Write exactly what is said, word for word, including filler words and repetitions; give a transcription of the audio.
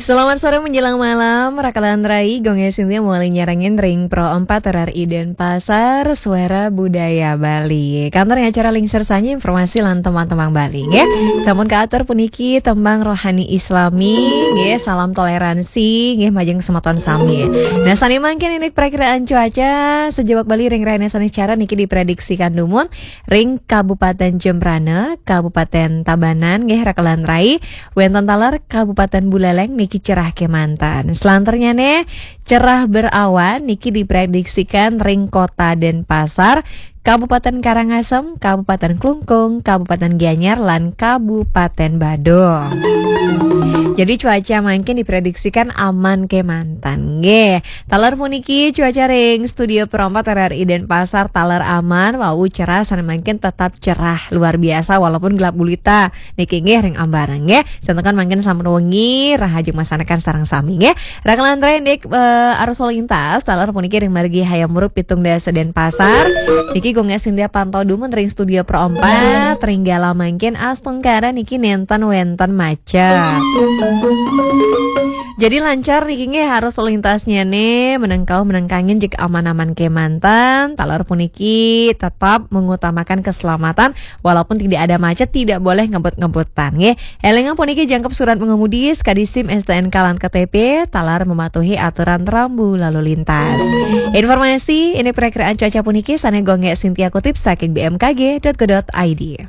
Selamat sore menjelang malam, Rakalan Rai, Gung Sintia mulai nyarengin ring Pro empat R R I Denpasar, Suara Budaya Bali. Kantor acara Lingsir Sanyi informasi lan tembang-tembang Bali, nggih. Sampun kaatur puniki tembang rohani Islami, nggih, salam toleransi, nggih, majeng semeton sami. Nah, sane mangkin indik prakiraan cuaca sejebak Bali ring rahina sane cara niki diprediksikan dumun ring Kabupaten Jembrana, Kabupaten Tabanan, nggih, Rakalan Rai, wenten taler Kabupaten Buleleng niki cerah kemanten. Selanternyane cerah berawan niki diprediksikan ring Kota Denpasar, Kabupaten Karangasem, Kabupaten Klungkung, Kabupaten Gianyar, lan Kabupaten Badung. Jadi cuaca mangkin diprediksikan aman kemanten, nggih. Taler puniki cuaca ring Studio Pro empat R R I Denpasar taler aman, wau cerah, sane mangkin tetap cerah luar biasa walaupun gelap gulita. Niki nggih ring ambarang nggih. Santukan mangkin sampun wengi, rahajeng masanekan sareng sami nggih. Rakalan Rai indik, eh, arus lalu lintas, taler puniki ring margi Hayam Wuruk pitung dasa Denpasar. Niki Gung Sintia pantau dumun ring Studio Pro empat, ring gala mangkin astungkara niki nenten wenten macet. Jadi lancar niki nggih arus lalu lintasnyane, menengkau menengkangin jika aman-aman kemanten, taler puniki tetap mengutamakan keselamatan, walaupun tidak ada macet, tidak boleh ngebut-ngebutan nggih. Elingang puniki jangkep surat mengemudi, sekadi SIM, STNK lan KTP, taler mematuhi aturan rambu lalu lintas. Informasi indik prakiraan cuaca puniki sane Gung Sintia kutip saking B M K G dot go dot I D.